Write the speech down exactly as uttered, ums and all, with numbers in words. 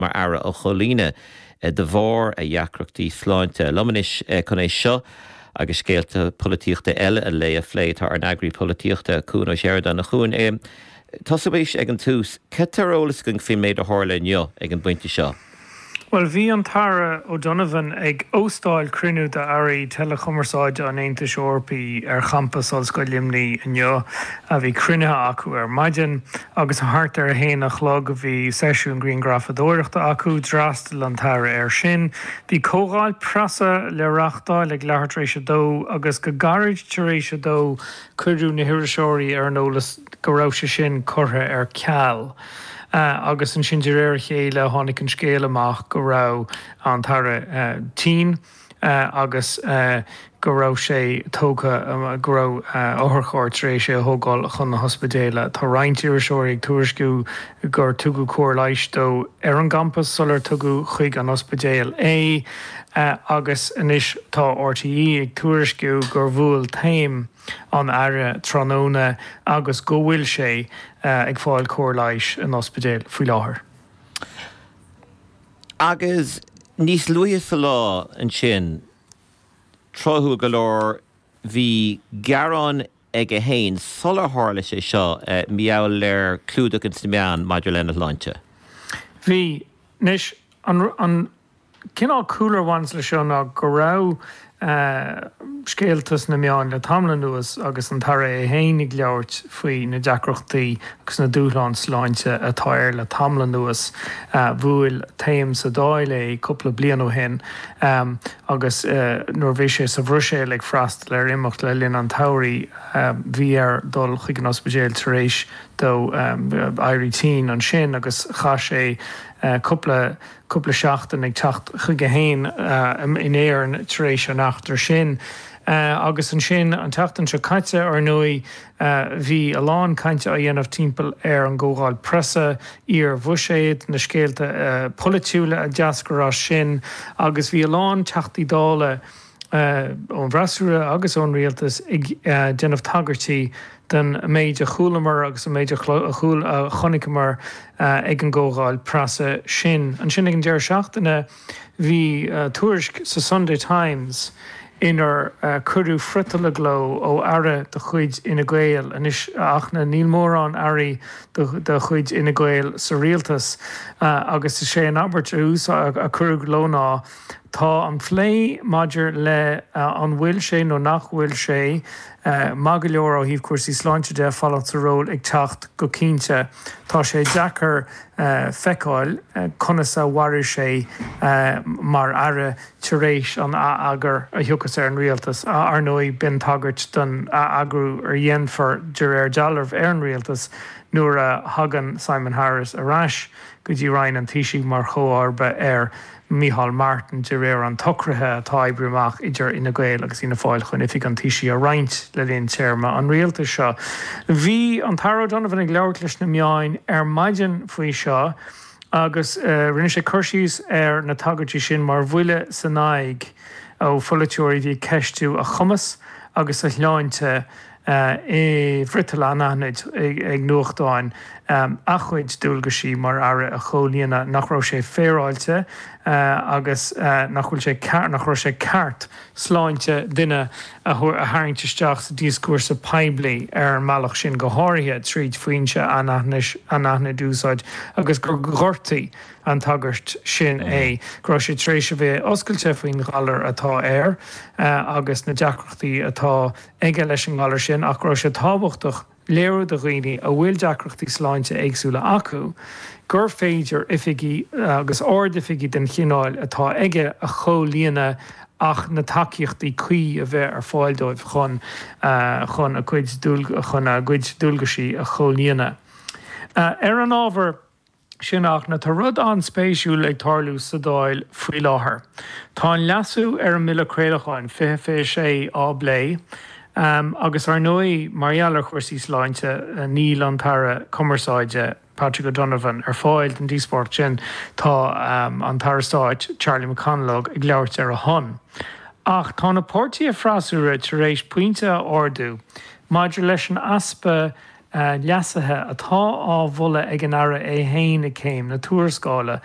mar aire a chomhlíonadh de bharr a dheacrachtaí sláinte. Liom anois chun é seo agus scéalta polaitíochta eile an lae a phlé tá ár n-eagraí polaitíochta Cuan Ó Seireadáin. A Chuain, tosóimis ag an tús, cad tá ar eolas againn faoin méid a tharla inniu ag an bpointe seo? Bhuel, bhí an tAire O'Donovan ag óstáil cruinniú d'airí teileachumarsáide an Aontais Eorpaigh ar champas Ollscoil Luimnigh inniu. Bhí cruinnithe acu ar maidin agus thart ar a haon a chlog bhí seisiún grianghrafadóireachta acu. D'fhreastail an tAire air sin. Bhí comhdháil preasa le reáchtáil ag leathuair tar éis a dó agus go gairid tar éis a dó cuireadh na hiriseoirí ar an eolas go raibh sé sin curtha ar ceal. Agus ansin de réir a chéile tháinig an scéal amach go raibh an tAire tinn agus go raibh sé tógtha, go raibh otharcharr tar éis é a thógáil chun na hospidéile. Tá roinnt iriseoirí ag tuairisciú gur tugadh cóir leighis dó ar an gcampas sular tugadh chuig an ospidéal é agus anois tá R T E ag tuairisciú gur bhuail taom an Aire tráthnóna agus go bhfuil sé ag fáil cóir leighis in ospidéal faoi láthair. Agus níos luaithe sa lá ansin, tráthúil go leor, bhí gearán aige féin sular tharla sé seo mar gheall ar clúdach ins na meáin maidir lena shláinte. Bhí. Anois, an, an cineál cúlra a bhaineas leis seo ná go raibh scéalta sna meáin le tamall anuas agus an tAire é féin ag labhairt faoi na deacrachtaí agus na dúshláin sláinte atá air le tamall anuas. Bhuail taom sa Dáil é cúpla bliain ó shin agus nuair a bhí sé sa Bhruiséil ag freastal ar imeacht le linn an tsamhraidh bhí air dul chuig an ospidéal tar éis dó éirí tinn ansin agus chaith sé cúpla cúpla seachtain ag teacht chuige féin in Éirinn tar éis an eachtra sin. Agus ansin an tseachtain seo caite, ar ndóigh, bhí a lán cainte á dhéanamh timpeall ar an gcomhdháil preasa iar-bhuiséad, na scéalta polaitiúla a d'eascair as sin agus bhí a lán Teachtaí Dála ón bhfreasúra agus ón rialtas ag déanamh tagairtí don méid a chualamar agus an méid a chonaiceamar ag an gcomhdháil preasa sin. Ansin ag an deireadh seachtaine bhí tuairisc sa Sunday Times inar cuireadh friotal i gcló ó aire de chuid Fhine Gael. Anois, a Fhachtna, níl mórán airí de chuid Fhine Gael sa rialtas agus is é an abairt a cuireadh i gcló ná, Tá an plé maidir le an bhfuil sé nó nach bhfuil sé maith go leor ó thaobh cúrsaí sláinte de fanacht sa ról ag teacht go cinnte. Tá sé deacair feiceáil conas a mhairfidh sé mar aire tar éis an ath-eagar a thiocfas ar an rialtas. Ar ndóigh, b'in tagairt don ath-eagrú a dhéanfar de réir dealraimh ar an rialtas nuair a thagann Simon Harris ar ais go dtí Roinn an Taoisigh mar chomharba ar Micheál Martin de réir an tsocraithe atá oibrithe amach idir Fhine Gael agus Fianna Fáil chun Oifig an Taoisigh a roinnt le linn téarma an rialtais seo. Bhí an tAire O'Donovan ag labhairt leis na meáin ar maidin faoi seo agus rinne sé cur síos ar na tagairtí sin mar bhuille san aghaidh ó pholaiteoirí a bhí ag ceistiú a chumas agus a shláinte i bhfriotal anaithnid ag nuachtáin a chuid dualgaisí mar aire a chomhlíonadh, nach raibh sé féaráilte agus nach bhfuil sé nach raibh sé ceart sláinte duine a tharraingt isteach sa díoscúrsa poiblí ar an mbealach sin, go háirithe tríd foinse anaithnid a úsáid agus gur ghortaigh an tagairt sin é, go raibh sé tar éis a bheith oscailte faoin ghalar atá air agus na deacrachtaí atá aige leis an ngalar sin ach go raibh sé tábhachtach léiriú do dhaoine a bhfuil deacrachtaí sláinte éagsúla acu gur féidir oifigí agus ardoifigí den chineál atá aige a chomhlíonadh ach na tacaíochtaí cuí a bheith ar fáil dóibh chun chun a gcuid chun a gcuid dualgaisí a chomhlíonadh. Ar an ábhar sin, a Fhachtna, tá rud an-spéisiúil ag tarlú sa Dáil faoi láthair. Tá an leasú ar an mBille Craolacháin fiche fiche sé á bplé agus ar ndóigh mar gheall ar chúrsaí sláinte níl an tAire Cumarsáide, Patrick O'Donovan, ar fáil don díospóireacht sin. Tá an tAire Stáit, Charlie McConalogue, ag labhairt ar a shon. Ach tá na páirtithe freasúra tar éis pointe a ardú maidir leis an easpa leasuithe atá á mholadh ag an Aire é féin ag céim na tuarascála.